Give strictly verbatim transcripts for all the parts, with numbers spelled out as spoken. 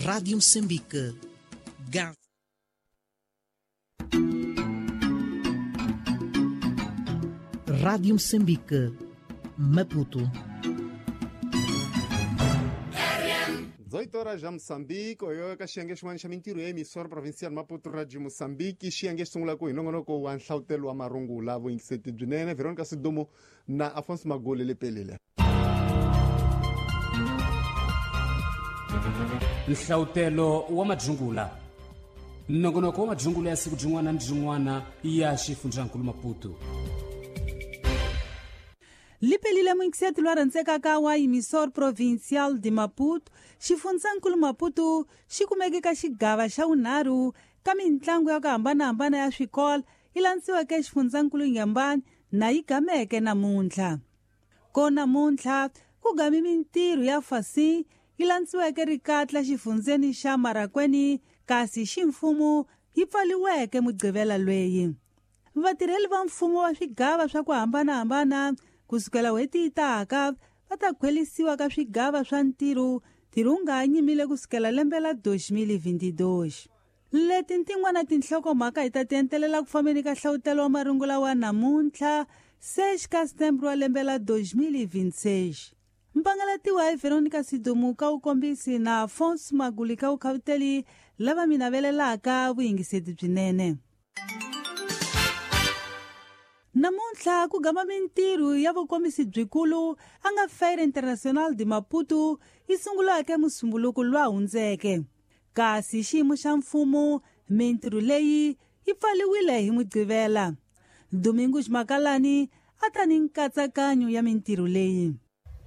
Rádio Moçambique. Gá. Rádio Moçambique. Maputo. dezoito horas já Moçambique, oyo ka xiyenge xin'wana xa mintirho ya emissora provincial Maputo Radio Moçambique, xiyenge xi sungula ku hi nongonoko wa nhlavutelo wa marungula vuyingiseti byinene Veronica Sidumo na Afonso Magoli Lepelile. Nhlavutelo wa madzungula nongonoko wa madzungula ya siku byin'wana ni byin'wana ya xifundzankulu Maputo. Lipelile mwingiseti lwa rhandzekaka wa emissora provincial de Maputo, xifundzankulu Maputo xi kumeke ka xigava xa vunharhu ka mintlangu ya ku hambanahambana ya swikolo yi landziweke xifundzankulu Inhambane na yi gameke namuntlha. Ko namuntlha ku gami mintirho ya fasi yi landziweke rikatla xifundzeni xa Marracuene kasi ximfumo yi pfaliweke Mugqivela lweyi. Vatirheli va mfumo wa swigava swa ku hambanahambana kusukela n'hweti yi taka va ta khwelisiwa ka swigava swa ntirho ntirho wu nga ha nyimile kusukela lembe la dois mil e vinte e dois. Leti tin'wana tinhlokomhaka hi ta ti entelela ku fambeni ka nhlavutelo wa marungula wa namuntlha seis ka setembro wa lembe la dois mil e vinte e seis. Mpangalatiwa hi Veronica Sidumo ka wukombisi na Afonso Maguli ka wukhavuteli lava mi navelelaka vuyingiseti byinene. Namuntlha ku gama mintirho ya vukombisi byikulu a nga Feira Internacional de Maputo yi sungulaka musumbuluko lwa hundzeke. Kasi xiyimo xa mfumo mintirho leyi yi pfaliwile hi Mugqivela. Domingos Makalani a ta ni nkatsakanyo ya mintirho leyi.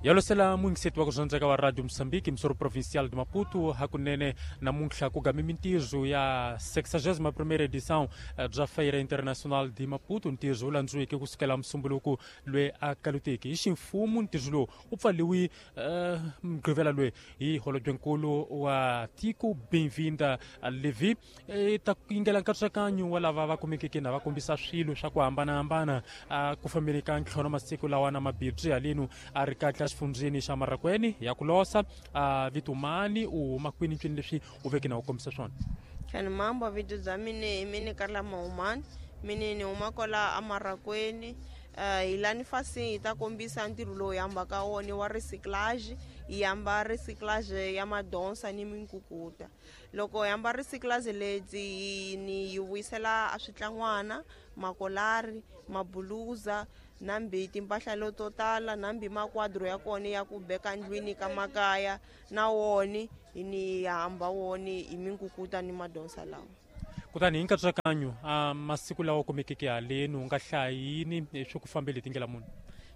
Yalosela muyingiseti wa ku dyondzeka wa Radio Moçambique emissora provincial de Maputo hakunene namuntlha ku gami mintirho ya sexagésima primeira edição bya Feira Internacional de Maputo. Ntirho wu landziweke kusukela musumbuluko lwe a kaluteki hi ximfumo. Ntirho lowu wu pfaliwi Mugqivela lwe hi holobyenkulu wa tiko Benvinda Levi. Ta yingela nkatsakanyo wa lava va kumekeke na va kombisa swilo swa ku hambanahambana ku fambeni ka ntlhanu masiku lawa na mabibyi halenu a ri katla xifundzeni xa Marracuene ya ku losa a vitumani u huma kwini ncini leswi u veke na u kombisa swona. Khani mambo vitu bya mine mine Karla Maumani mine ni huma kwala a Marracuene. Uh, hi lani fasi hi ta kombisa ntirho lowu hi hambaka wona wa recyclage. Hi hamba recyclage ya madonsa ni minkukuta. Loko hi hamba recyclage lebyi ni yi vuyisela a switlangwana, makolari, mabuluza nambi timpahla leto tala nambi makwadro ya kona ya ku beka ndlwini ka makaya na woni ni hamba woni hi minkukuta ni madonsa lawa. Kutani hi nkatsakanyo a masiku lawa kumekeke haleni u nga hlayini swi ku fambele tindlela muni?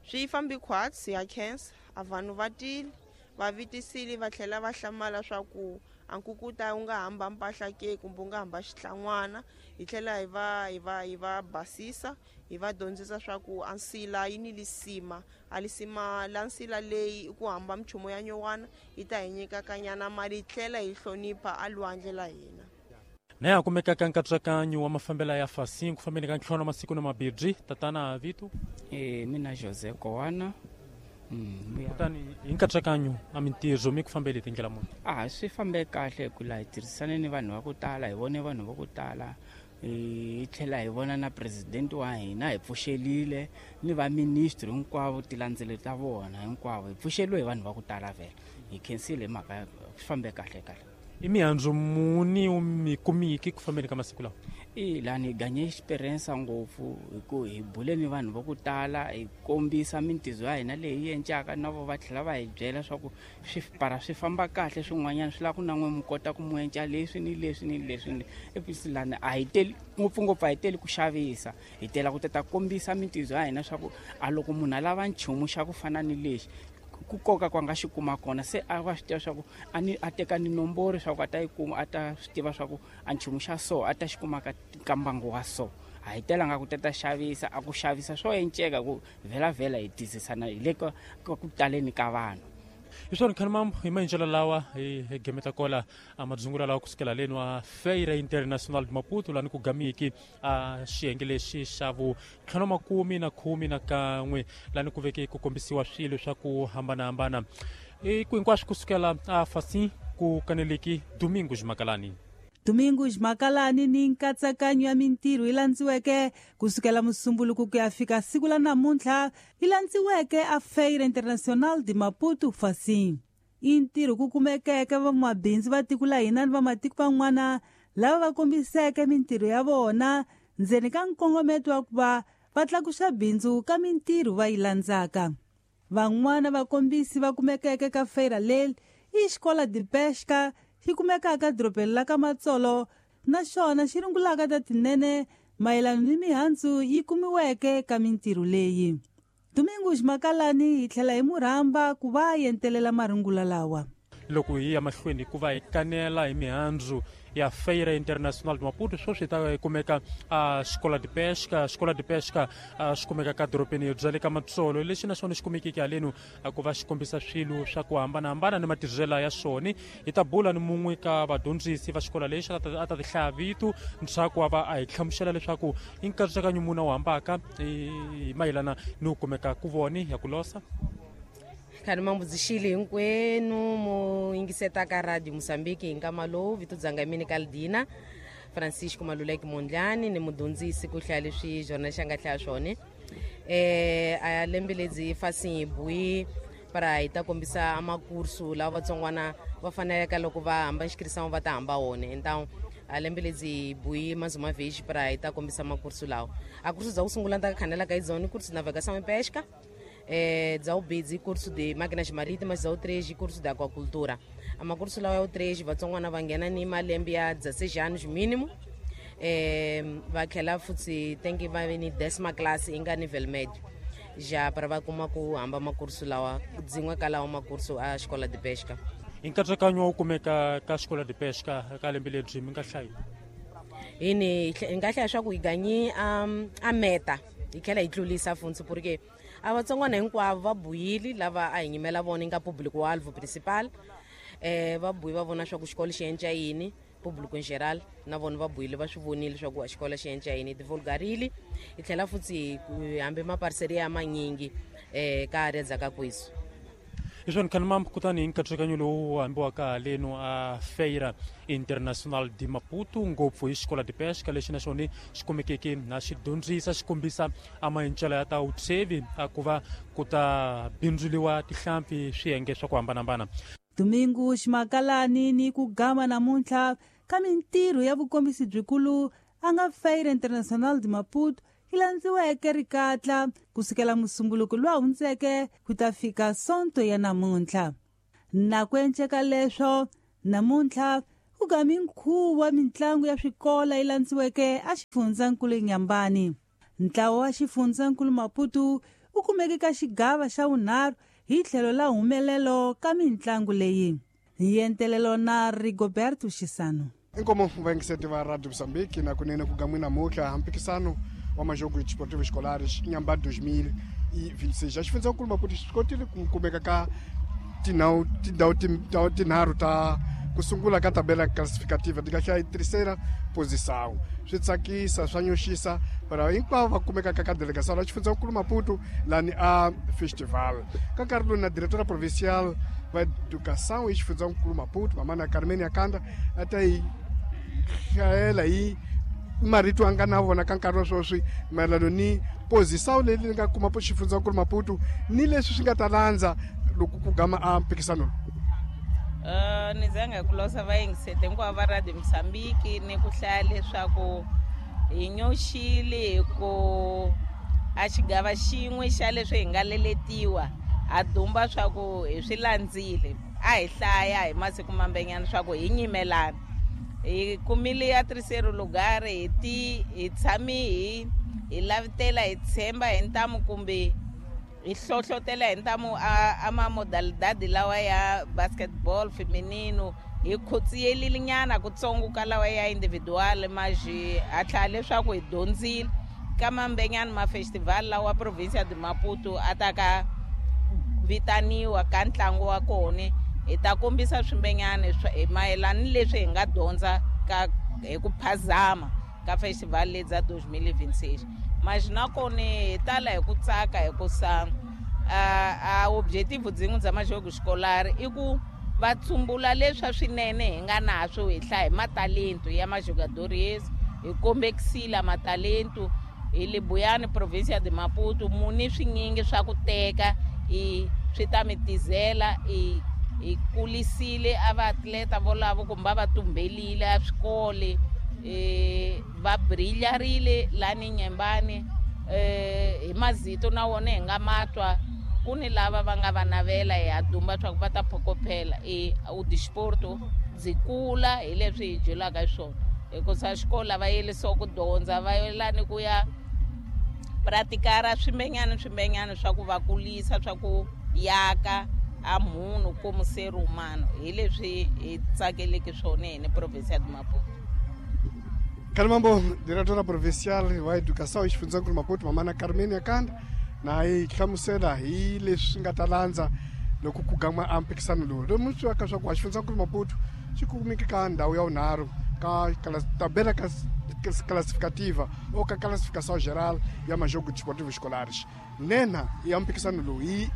Swi fambi khwatsi ya khensa a vanhu va tile va vitisile va tlhela va hlamala swa ku a nkukuta wu nga hamba mpahla ke kumbe wu nga hamba xitlangwana. Hi tlhela hi va hi va hi va basisa hi va dyondzisa swa ku a nsila yi ni lisima a lisima la nsila leyi i ku hamba minchumu ya nyuwana yi ta hi nyika kanyana mali hi tlhela hi hlonipha a lwandle la hina. Na ya kumekaka nkatsakanyo wa mafambela ya fasi ku fambeni ka ntlhanu masiku na mabibyi tatana Vito. E mina José Kowana. Mm, kutani hi nkatsakanyo a mintirho mi ku fambele tindlela muni? A swi fambe kahle ku la hi tirhisane ni vanhu va ku tala, hi vone vanhu va ku tala, hi tlhela hi vona na president wa hina hi pfuxelile ni va ministry hinkwavo tilandzelo ta vona hinkwavo hi pfuxeliwe hi vanhu va ku tala vhele hi khensile hi mhaka swi fambe kahle kahle. I mihandzu muni u mi kumiki ku fambeni ka masiku lawa? I lani hi ganye experience ngopfu hi ku hi bule ni vanhu va ku tala hi kombisa mintirho ya hina leyi hi encaka na vo va tlhela va hi byela swa ku swi para swi famba kahle swin'wanyana swi lava ku na n'we mi kota ku mu enca leswi ni leswi ni leswi. Episi lani a hi teli ngopfungopfu a hi teli ku xavisa hi tela ku ta kombisa mintirho ya hina swa ku a loko munhu a lava nchumu xa ku fana ni lexi ku koka kwa nga xi kuma kona se a va swi tiva swa ku a ni a teka ni nomboro swa ku a ta yi kuma a ta swi tiva swa ku a nchumu xa so a ta xi kuma ka ka mbangu wa so. A hi telanga ku ta ta xavisa a ku xavisa swo enceka ku vhela vhela hi tizisana hi le ka ku taleni ka vanhu. Hi swona khani mambo hi maendlelo lawa hi gemeta kola a madzungula lawa kusukela leni wa Feira Internacional de Maputo lani ku gamiki a xiyenge lexi xa vuntlhanu makume na khume na kan'we lani ku veke ku kombisiwa swilo swa ku hambanahambana i ku hinkwaswo kusukela a fasi ku kaneleki Domingos Makalani. Domingos Makalani ni nkatsakanyo ya mintirho yi landziweke kusukela Musumbuluku ku ya fika siku la namuntlha yi landziweke a Feira Internacional de Maputo Facim. I ntirho ku kumekeke vamabindzu va tiko la hina ni vamatiko van'wana lava va kombiseke mintirho ya vona ndzeni ka nkongometo wa ku va va tlakusa bindzu ka mintirho va yi landzaka. Van'wana vakombisi va kumekeke ka feira leri i Escola de Pesca xi kumekaka dorobeni la ka Matsolo naswona xi rungulaka ta tinene mayelana ni mihandzu yi kumiweke ka mintirho leyi. Domingos Makalani hi tlhela hi murhamba ku va yentelela marungula lawa. Loko hi ya mahlweni ku va hi kanela hi mihandzu ya Feira Internacional de Maputo, sweswi ta kumeka a Escola de Pesca. Escola de Pesca xi kumeka ka dorobeni bya le ka Matsolo, lexi naswona xi kumekeke haleno ku va xi kombisa swilo swa ku hambanahambana ni matirhelo ya swona. Hi ta bula ni mun'we ka vadyondzisi va xikolo lexi a ta ti hlaya vito ntshaku wa va a hi hlamusela leswaku i nkatsakanyo muni wu hambaka hi mayelana ni ku kumeka ku voni ya ku losa. Khani mambudzixile hinkwenu mu yingiseta ka Radio Mozambique hi nkama lowu. Vito dzanga mina Kaldina Francisco Maluleke Mondlani, ni mudyondzisi ku hlaya leswi jornal xi nga hlaya swona. Eh a lembe ledzi fasi bui para hi ta kombisa makursu lawa vatsongwana va faneleke loko va hamba xikrisamo va ta hamba wona. Então a lembe ledzi bui mazuma vez para hi ta kombisa makursu lawa. A kursu dza ku sungula ta khanela ka izoni kursu navegação e pesca. É, dza curso de máquinas marítimas, dza três curso de aquacultura. A curso lá é o três, vatsongwana va nghena ni malembe ya dezesseis anos mínimo. É, vai que futhi tem que vai ni décima classe inga nível médio. Já para vai kuma ku hamba makurso lawa, dzin'we ka lawa makurso a escola de pesca. Hi nkatsakanyo wu kumeka ka escola de pesca ka lembe lebyi mi nga hlayi? Hini hi nga hlaya swa ku hi ganyi a meta hi tlhela hi tlulisa funtsi porque a vatsongwana hinkwavo va buyile lava a hi nyimela vona nga público alvo principal. Eh va buyi va vona swa ku xikolo xi endla yini, público em geral na vona va buyile va swi vonile swa ku a xikolo xi endla yini, divulgarile hi tlhela futhi hambi maparceria manyingi eh ka area dza ka kwisu. Hi swona khani mambo kutani hi nkatsakanyo lowu hambiwaka haleno a Feira Internacional de Maputo, ngopfu hi Escola de Pesca lexi naswona xi kumekeke na xi dyondzisa xi kombisa a maendlelo ya ta vutsevi a ku va ku ta bindzuliwa tihlampfi swiyenge swa ku hambanahambana. Domingos Makalani ni ku gama namuntlha ka mintirho ya vukombisi byikulu a nga Feira Internacional de Maputo yi landziweke rikatla kusukela Musumbuluku lowu hundzeke ku ta fika Sonto ya namuntlha. Na ku enceka leswo namuntlha ku gami nkhuvo wa mintlangu ya swikola yi landziweke a xifundzankulu Inhambane. Ntlawa wa xifundzankulu Maputo wu kumeke ka xigava xa vunharhu hi tlhelo la humelelo ka mintlangu leyi. Hi entelelo na Rigoberto Xisano. Inkomo vayingiseti va Radio Mozambique na kunene ku gamwina mutlha mpikisano wa majogo esportivos escolares Inhambane dois mil e vinte e seis. Xifundzankulu Maputo xi kotile ku kumeka ka tindhawu tindhawu tinharhu ta ku sungula ka tabela classificativa ti nga hlaya terceira posição. Swi tsakisa swa nyoxisa para hinkwavo va kumekaka ka delegação la xifundzankulu Maputo lani a festival. Ka nkarhi lowu na diretora provincial va educação e xifundzankulu Maputo mamana Carmen Yakanda a ta hi hlayela hi marito a nga na vona ka nkarhi wa sweswi mayelano ni posição leyi nga kuma xifundzankulu Maputo ni leswi swi nga ta landza loko ku gama a mpikisano. Uh, ni zanga ku losa vayingisete hinkwavo va Radio Mozambique ni ku hlaya leswaku hi nyoxile hi ku a xigava xin'we xa leswi hi nga leletiwa ha dumba swa ku hi swi landzile a hi hlaya hi masiku mambenyana swa ku hi nyimelana hi kumile ya terceiro lugar hi ti hi tshami hi hi lavitela hi tshemba hi ntamu kumbe hi hlohlotela hi ntamu a, a mamodalidade lawa ya basketball feminino hi khotsiyelile nyana kutsongo ka lawa ya individual maji a tlhela leswaku hi dyondzile ka mambenyana ma festival lawa provincia de Maputo a ta ka vitaniwa ka ntlangu wa kona hi ta kombisa swimbenyana hi mayelana ni leswi hi nga dyondza ka hi ku phazama ka festival leyi dza dois mil e vinte e seis. Mas nakona hi tala hi ku tsaka hi ku sa a, a objetivo dzin'we dza majogo escolar i ku va tsumbula leswa swinene hi nga naswo hi hlaya hi matalento ya majogadores hi kombekisile matalento hi le Buyani provincia de Maputo muni swinyingi swa ku teka i swi ta mi tizela i hi kulisile a vaatleta volavo kumbe va tumbelile a swikole eh va brilharile lani Nyembani eh hi mazito na wona hi nga matwa ku ni lava va nga va navela hi adumba swa ku va ta phokophela e o desporto byi kula hi leswi hi byelaka hi swona hikusa xikolo va yelisiwa ku dyondza va yelani ku ya pratikara swimbenyana swimbenyana swa ku va kulisa swa ku yaka a munhu como ser humano hi leswi hi tsakeleke swona hi ni province ya Maputo. Kalimambo, diretora provincial wa educação exifundzhankulu Maputo Mamana Carmen Yakanda na yi hlamusela hi leswi nga ta landza loko ku gama a mpikisano lowu lomu swi ka swa ku xifundzankulu Maputo xi kumeke ka ndhawu ya vunharhu ka tabela classificativa ou ka classificação geral ya majogo desportivos escolares. Nena ya mpikisano lowu hi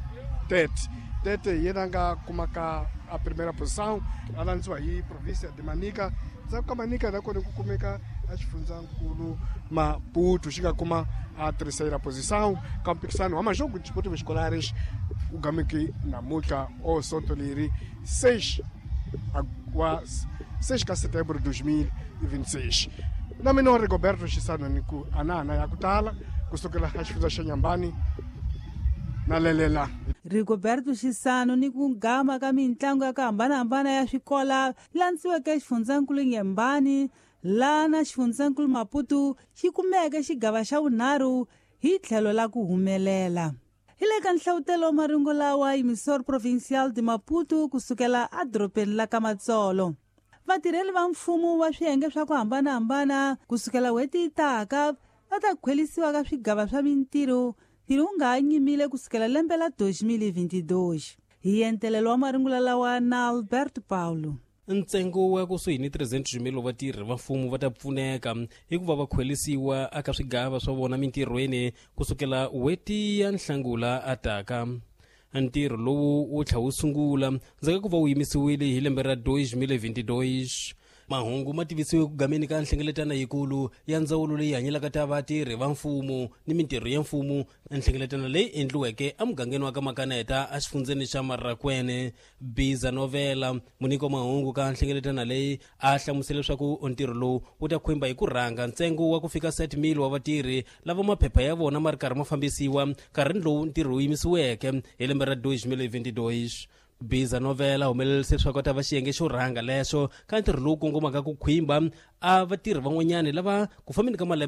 Tete Tete yena nga kuma ka a primeira posição a landziwa hi província de Manica ndzhaku ka Manica nakona ku kumeka a xifundzankulu Maputo xi nga kuma a terceira posição ka mpikisano wa majogo desportivos escolares u gameke namuntlha o sonto leri seis wa seis ka setembro de dois mil e vinte e seis. Na mina Rigoberto Xisano ni ku anana ya ku tala kusukela ka xifundza xa Nyambani na lelela. Rigoberto Xisano ni ku gama ka mintlangu ya ku hambanahambana ya swikola landziweke xifundzankulu Nyembani lana xifundzankulu Maputo xi kumeke xigava xa vunharhu hi tlhelo la ku humelela. Hi le ka nhlavutelo wa marungu lawa Emissor Provincial de Maputo kusukela edorobeni la ka Matsolo. Vatirheli va mfumo wa swiyenge swa ku hambanahambana kusukela n'hweti yi taka va ta khwelisiwa ka swigava swa mintirho ntirho wu nga ha nyimile kusukela lembe la dois mil e vinte e dois. Hi entelelo wa marungula lawa na Alberto Paulo. Ntsengo wa kusuhi ni trezentos mil vatirhi va mfumo va ta pfuneka hikuva va khwelisiwa eka swigava swa vona mintirhweni kusukela n'hweti ya Nhlangula ataka. Ntirho lowu wu tlha wu sungula ndzhaku ku va wu yimisiwile hi lembe ra dois mil e vinte e dois. Mahungu ma tivisiwe ku gameni ka nhlengeletano yikulu ya ndzawulo leyi hanyelaka ta vatirhi va mfumo ni mintirho ya mfumo, nhlengeletano leyi endliweke emugangeni wa ka Makaneta exifundzeni xa Marrakwene. Biza Novela munyiki wa mahungu ka nhlengeletano leyi a hlamusela leswaku ntirho lowu wu ta khumba hi ku rhanga ntsengo wa ku fika sete mil wa vatirhi lava maphepha ya vona ma ri karhi ma fambisiwa nkarhini lowu ntirho wu yimisiweke hi lembe ra dois mil e vinte e dois. Biza Novela humelerise leswaku ta va xiyenge xo rhanga lexo ka ntirho lowu kongomaka ku khwimba a vatirhi van'wanyani lava ku fambeni ka malembe